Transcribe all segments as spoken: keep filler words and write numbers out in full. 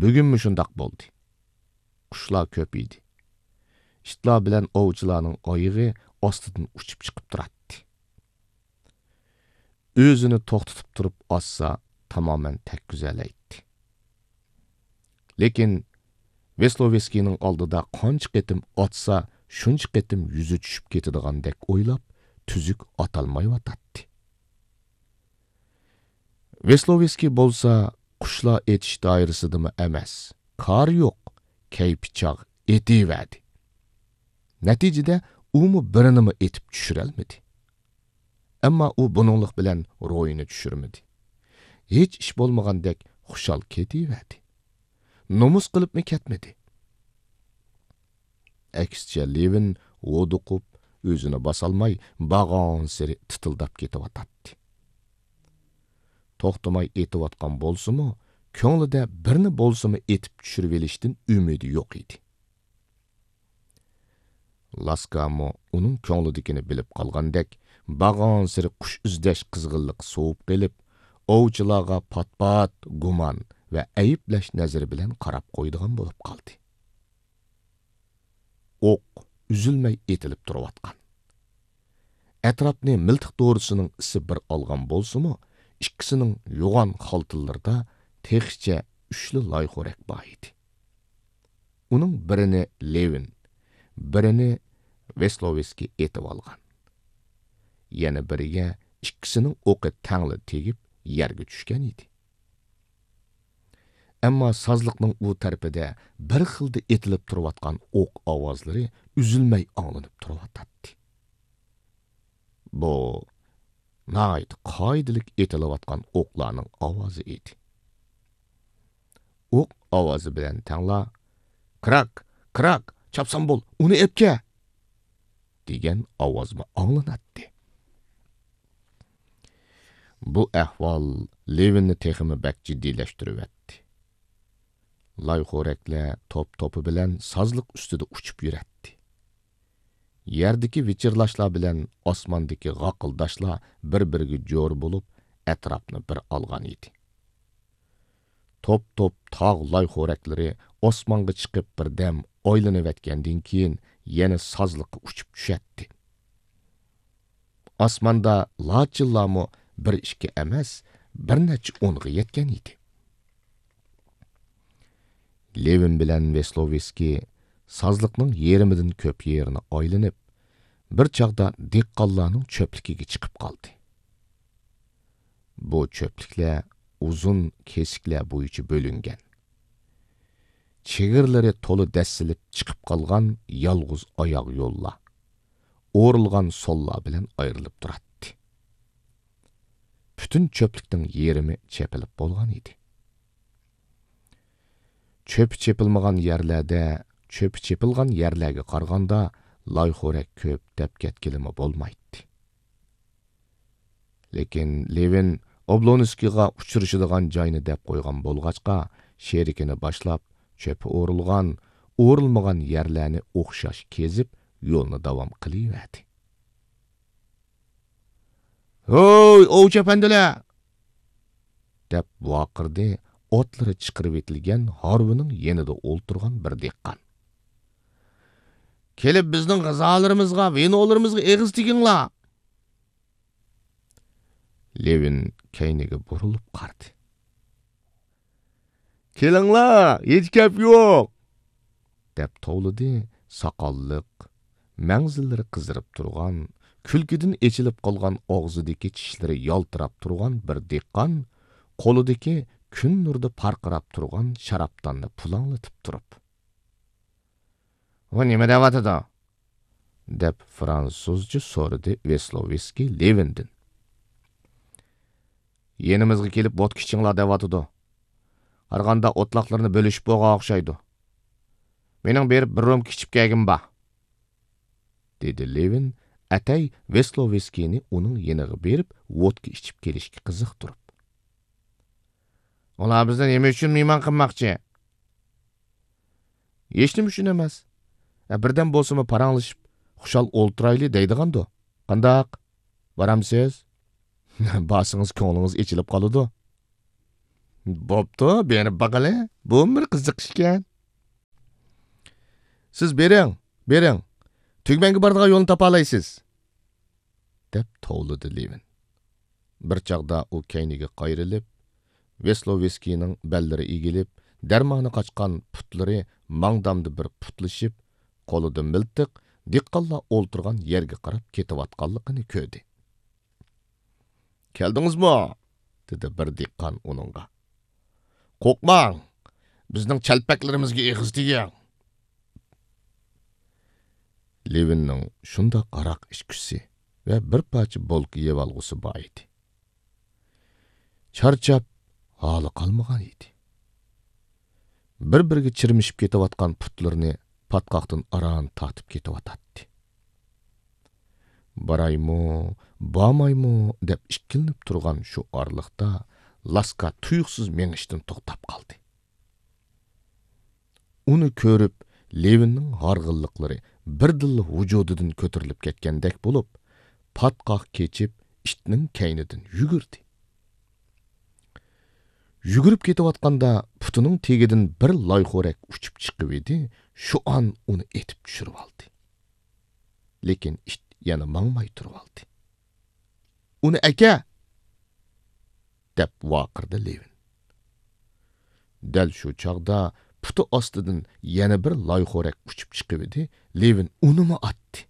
بۈگۈنمۇ شۇنداق بولدى. قۇشلار كۆپ ئىدى. ئىتلار بىلەن ئوۋچىلارنىڭ ئايىغى ئاستىدىن ئۇچۇپ چىقىپ تۇراتتى. ئۆزىنى توختىتىپ تۇرۇپ ئاتسا، تامامەن تەگكۈزەلەيتتى. لېكىن ۋېسلوۋېسكىينىڭ ئالدىدا قانچە قېتىم ئاتسا، شۇنچە قېتىم يۈزى چۈشۈپ كېتىدىغاندەك ئويلاپ، تۈزۈك ئاتالمايۋاتاتتى. ۋېسلوۋېسكىي بولسا قۇشلار ئېتىش دائىرىسىدىمۇ ئەمەس، كارى يوق، كەيپى چاغ ئېتىۋەردى. نەتىجىدە ئۇمۇ بىرىنىمۇ ئېتىپ چۈشۈرەلمىدى. ئەمما ئۇ بۇنىڭلىق بىلەن روھىنى چۈشۈرمىدى. ھېچ ئىش بولمىغاندەك خۇشال كېتىۋەردى. نومۇس قىلىپمۇ كەتمىدى. ئەكسىچە، لېۋىن ھودۇقۇپ، ئۆزىنى باسالماي، بارغانسېرى تىتىلداپ كېتىۋاتاتتى. توختىماي ئېتىۋاتقان بولسىمۇ، كۆڭلىدە بىرنى بولسىمۇ ئېتىپ چۈشۈرۈۋېلىشتىن ئۈمىدى يوق ئىدى. لاسكامۇ ئۇنىڭ كۆڭلىدىكىنى بىلىپ قالغاندەك، بارغانسېرى قۇش ئىزدەش قىزغىنلىقى سوۋۇپ قېلىپ، ئوۋچىلارغا پات-پات گۇمان ۋە ئەيىبلەش نەزىرى بىلەن قاراپ قويىدىغان بولۇپ قالدى. ئوق ئۈزۈلمەي ئېتىلىپ تۇرۇۋاتقان. ئەتراپنى مىلتىق دورىسىنىڭ ئىسى بىر ئالغان بولسىمۇ، ئىككىسىنىڭ يوغان خالتىلىرىدا تېخىچە ئۈچلا لايخورەك بار ئىدى. ئۇنىڭ بىرىنى لېۋىن، بىرىنى ۋېسلوۋېسكىي ئېتىۋالغان. يەنە بىرىگە ئىككىسىنىڭ ئوقى تەڭلا تېگىپ، يەرگە چۈشكەن ئىدى. ئەمما سازلىقنىڭ ئۇ تەرىپىدە بىر خىلدا ئېتىلىپ تۇرۇۋاتقان ئوق ئاۋازلىرى ئۈزۈلمەي ئاڭلىنىپ تۇرۇۋاتاتتى. بۇ ناھايىتى قائىدىلىك ئېتىلىۋاتقان ئوقلارنىڭ ئاۋازى ئىدى. ئوق ئاۋازى بىلەن تەڭلا، «كراك، كراك، چاپسان بول، ئۇنى ئەپكە!» دېگەن ئاۋازمۇ ئاڭلىناتتى. بۇ ئەھۋال لېۋىننى تېخىمۇ بەك جىددىيلەشتۈرۈۋەتتى. لايخورەكلەر توپ-توپى بىلەن سازلىق ئۈستىدە ئۇچۇپ يۈرەتتى. يەردىكى ۋىچىرلاشلار بىلەن ئاسماندىكى غاقىلداشلار بىر-بىرىگە جور بولۇپ، ئەتراپنى بىر ئالغان ئىدى. توپ-توپ تاغ لايخورەكلىرى ئاسمانغا چىقىپ بىردەم ئايلىنىۋەتكەندىن كېيىن، يەنە سازلىققا ئۇچۇپ چۈشەتتى. ئاسماندا لاچىنلارمۇ بىر-ئىككى ئەمەس، بىر نەچچە ئونغا يەتكەن ئىدى. لېۋىن بىلەن ۋېسلوۋېسكىي سازلىقنىڭ يېرىمىدىن كۆپ يېرىنى ئايلىنىپ، بىر چاغدا دېھقانلارنىڭ چۆپلۈكىگە چىقىپ قالدى. بۇ چۆپلۈكلەر ئۇزۇن كېسىكلەر بويىچە بۆلۈنگەن. چېگرىلىرى تولا دەسسىلىپ چىقىپ قالغان يالغۇز ئاياغ يوللار، ئورۇلغان سوللار بىلەن ئايرىلىپ تۇراتتى. پۈتۈن چۆپلۈكنىڭ يېرىمى چېپىلىپ بولغان ئىدى. چۆپى چېپىلمىغان يەرلەردە، چۆپى چېپىلغان يەرلەرگە قارىغاندا، لايخورەك كۆپ دەپ كەتكىلىمۇ بولمايتتى. لېكىن لېۋىن ئوبلونسكىيغا ئۇچرىشىدىغان جاينى دەپ قويغان بولغاچقا، شېرىكىنى باشلاپ، چۆپى ئورۇلغان، ئورۇلمىغان يەرلەرنى ئوخشاش كېزىپ، يولنى داۋام قىلىۋەردى. «ھوي، ئوۋچى ئەپەندىلەر!» دەپ ۋارقىرىدى ئوتلىرى چىقىرىۋېتىلگەن ھارۋىنىڭ يېنىدا ئولتۇرغان بىر دېھقان. «كېلىپ بىزنىڭ غىزالىرىمىزغا، ۋىنولىرىمىزغا ئېغىز تېگىڭلار!» لېۋىن كەينىگە بۇرۇلۇپ قارىدى. «كېلىڭلار، ھېچ گەپ يوق!» دەپ توۋلىدى ساقاللىق، مەڭزىلىرى قىزىرىپ تۇرغان، كۈلكىدىن ئېچىلىپ قالغان ئاغزىدىكى چىشلىرى يالتىراپ تۇرغان بىر دېھقان، قولىدىكى كۈن نۇرىدا پارقىراپ تۇرغان شارابداننى پۇلاڭلىتىپ تۇرۇپ. «ئۇ نېمە دەۋاتىدۇ؟» دەپ فرانسۇزچە سورىدى ۋېسلوۋېسكىي لېۋىندىن. «يېنىمىزغا كېلىپ ۋودكا ئىچىڭلار دەۋاتىدۇ. قارىغاندا ئوتلاقلىرىنى بۆلۈشۈپ بولغان ئوخشايدۇ. مېنىڭ بېرىپ بىر رومكا ئىچىپ كەلگۈم بار.» دېدى لېۋىن ئەتەي ۋېسلوۋېسكىينى ئۇنىڭ يېنىغا بېرىپ ۋودكا ئىچىپ كېلىشكە قىزىقتۇرۇپ. «ئۇلار بىزنى نېمە ئۈچۈن مېھمان قىلماقچى؟» «ھېچنېمە ئۈچۈن ئەمەس. ئە، بىردەم بولسىمۇ پاراڭلىشىپ، خۇشال ئولتۇرايلى دەيدىغاندۇ. قانداق؟ بارامسىز؟ بارسىڭىز كۆڭلىڭىز ئېچىلىپ قالىدۇ.» بوپتۇ، بېرىپ باقىلى. بۇمۇ بىر قىزىق ئىشكەن. سىز بېرىڭ، بېرىڭ. تۈگمەنگە بارىدىغان يولنى تاپالايسىز. دەپ توۋلىدى لېۋىن. بىر چاغدا ئۇ كەينىگە قايرىلىپ، ۋېسلوۋېسكىينىڭ بەللىرى ئېگىلىپ، دەرمانى قاچقان پۇتلىرى ماڭدامدا بىر پۇتلىشىپ، قولىدا مىلتىق، دېھقانلار ئولتۇرغان يەرگە قاراپ كېتىۋاتقانلىقىنى كۆردى. «كەلدىڭىزمۇ؟» دېدى بىر دېھقان ئۇنىڭغا. «قورقماڭ، بىزنىڭ چەلپەكلىرىمىزگە ئېغىز تېگىڭ.» لېۋىننىڭ شۇنداق ھاراق ئىچكۈسى ۋە بىر پارچە بولكا يەۋالغۇسى بار ئىدى. چارچاپ، ھالى قالمىغان ئىدى. بىر-بىرىگە چىرمىشىپ كېتىۋاتقان پۇتلىرىنى پاتقاقتىن ئاران تارتىپ كېتىۋاتاتتى. «بارايمۇ، بارمايمۇ؟» دەپ ئىككىلىنىپ تۇرغان شۇ ئارىلىقتا لاسكا تۇيۇقسىز مېڭىشتىن توختاپ قالدى. ئۇنى كۆرۈپ، لېۋىننىڭ ھارغىنلىقلىرى بىردىنلا ۋۇجۇدىدىن كۆتۈرۈلۈپ كەتكەندەك بولۇپ، پاتقاق كېچىپ، ئىتنىڭ كەينىدىن يۈگۈردى. يۈگۈرۈپ كېتىۋاتقاندا پۇتىنىڭ تېگىدىن بىر لايخورەك ئۇچۇپ چىقىۋىدى، شۇ ئان ئۇنى ئېتىپ چۈشۈرۈۋالدى. لېكىن ئىت يەنە ماڭماي تۇرۇۋالدى. «ئۇنى ئەكە!» دەپ ۋارقىرىدى لېۋىن. دەل شۇ چاغدا پۇتى ئاستىدىن يەنە بىر لايخورەك ئۇچۇپ چىقىۋىدى، لېۋىن ئۇنىمۇ ئاتتى.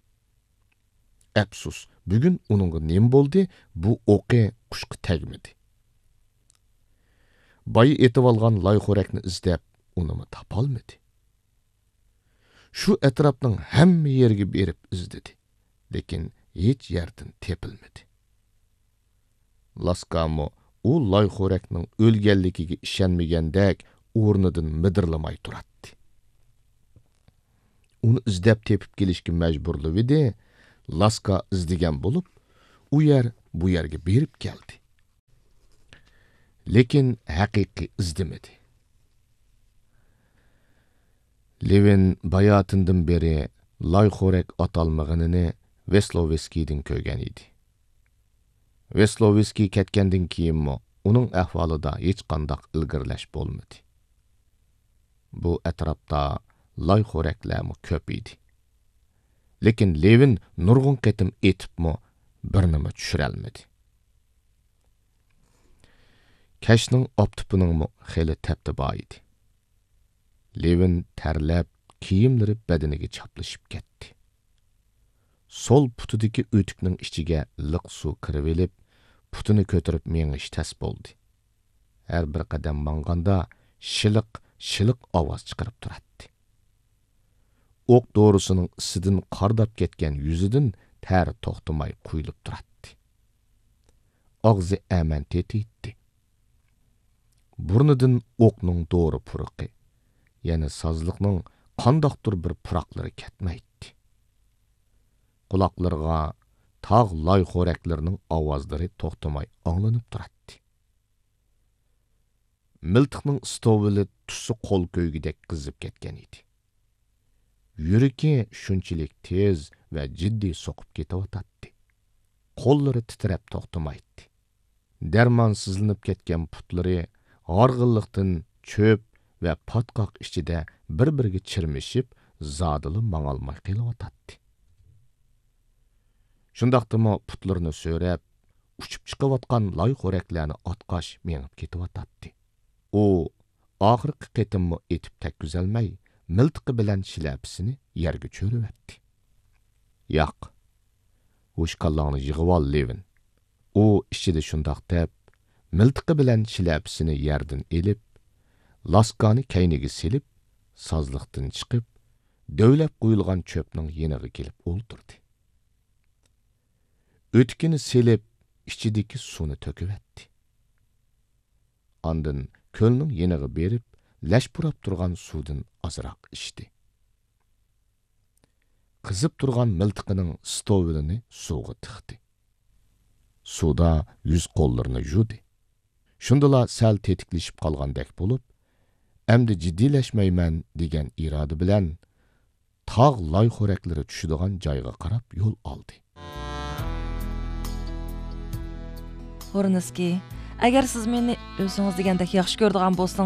ئەپسۇس، بۈگۈن ئۇنىڭغا نېمە بولدى، بۇ ئوقى قۇشقا تەگمىدى. بايا ئېتىۋالغان لايخورەكنى ئىزدەپ، ئۇنىمۇ تاپالمىدى. شۇ ئەتراپنىڭ ھەممە يېرىگە بېرىپ ئىزدىدى، لېكىن ھېچ يەردىن تېپىلمىدى. لاسكامۇ ئۇ لايخورەكنىڭ ئۆلگەنلىكىگە ئىشەنمىگەندەك ئورنىدىن مىدىرلىماي تۇراتتى. ئۇنى ئىزدەپ تېپىپ كېلىشكە مەجبۇرلىۋىدى، لاسكا ئىزدىگەن بولۇپ، ئۇ يەر، بۇ يەرگە بېرىپ كەلدى. لېكىن ھەقىقىي ئىزدىمىدى. لېۋىن باياتىندىن بېرى لايخورەك ئاتالمىغىنىنى ۋېسلوۋېسكىيدىن كۆرگەن ئىدى. ۋېسلوۋېسكىي كەتكەندىن كېيىنمۇ ئۇنىڭ ئەھۋالىدا ھېچقانداق ئىلگىرىلەش بولمىدى. بۇ ئەتراپتا لايخورەكلەرمۇ كۆپ ئىدى. لېكىن لېۋىن نۇرغۇن قېتىم ئېتىپمۇ بىرنىمۇ چۈشۈرەلمىدى. كەچنىڭ ئاپتىپىنىڭمۇ خېلى تەپتى بار ئىدى. لېۋىن تەرلەپ، كىيىملىرى بەدىنىگە چاپلىشىپ كەتتى. سول پۇتىدىكى ئۆتۈكنىڭ ئىچىگە لىق سۇ كىرىۋېلىپ، پۇتىنى كۆتۈرۈپ مېڭىش تەس بولدى. ھەر بىر قەدەم ماڭغاندا شىلىق، شىلىق ئاۋاز چىقىرىپ تۇراتتى. ئوق دورىسىنىڭ ئىسىدىن قارداپ كەتكەن يۈزىدىن تەر توختىماي قۇيۇلۇپ تۇراتتى. ئاغزى ئەمەن تېتىيتتى. بۇرنىدىن ئوقنىڭ دورا پۇرىقى، يەنە سازلىقنىڭ قانداقتۇر بىر پۇراقلىرى كەتمەيتتى. قۇلاقلىرىغا تاغ لايخورەكلىرىنىڭ ئاۋازلىرى توختىماي ئاڭلىنىپ تۇراتتى. مىلتىقنىڭ ئىستوۋىلى تۇتسا قول كۆيگۈدەك قىزىپ كەتكەن ئىدى. يۈرىكى شۇنچىلىك تېز ۋە جىددىي سوقۇپ كېتىۋاتاتتى. قوللىرى تىترەپ توختىمايتتى. دەرمانسىزلىنىپ كەتكەن پۇتلىرى ھارغىنلىقتىن چۆپ ۋە پاتقاق ئىچىدە بىر-بىرىگە چىرمىشىپ، زادىلا ماڭالماي قېلىۋاتاتتى. شۇنداقتىمۇ پۇتلىرىنى سۆرەپ، ئۇچۇپ چىقىۋاتقان لايخورەكلەرنى ئاتقاش مېڭىپ كېتىۋاتاتتى. ئۇ ئاخىرقى قېتىممۇ ئېتىپ تەگكۈزەلمەي، مىلتىقى بىلەن شىلەپىسىنى يەرگە چۆرۈۋەتتى. ياق، ھوشكاللاڭنى يىغىۋال، لېۋىن. ئۇ ئىچىدە شۇنداق دەپ، مىلتىقى بىلەن شىلەپىسىنى يەردىن ئېلىپ، لاسكانى كەينىگە سېلىپ، سازلىقتىن چىقىپ، دۆۋىلەپ قويۇلغان چۆپنىڭ يېنىغا كېلىپ ئولتۇردى. ئۆتۈكىنى سېلىپ، ئىچىدىكى سۇنى تۆكۈۋەتتى. ئاندىن كۆلنىڭ يېنىغا بېرىپ، لەش پۇراپ تۇرغان سۇدىن ئازراق ئىچتى. قىزىپ تۇرغان مىلتىقىنىڭ ستوۋىلىنى سۇغا تىقتى. سۇدا يۈز-قوللىرىنى يۇدى. شۇندىلا سەل تېتىكلىشىپ قالغاندەك بولۇپ، «ئەمدى جىددىيلەشمەيمەن» دېگەن ئىرادە بىلەن تاغ لايخورەكلىرى چۈشىدىغان جايغا قاراپ يول ئالدى. ھورنسكىي، ئەگەر سىز مېنى ئۆزىڭىز دېگەندەك ياخشى كۆرىدىغان بولسىڭىز،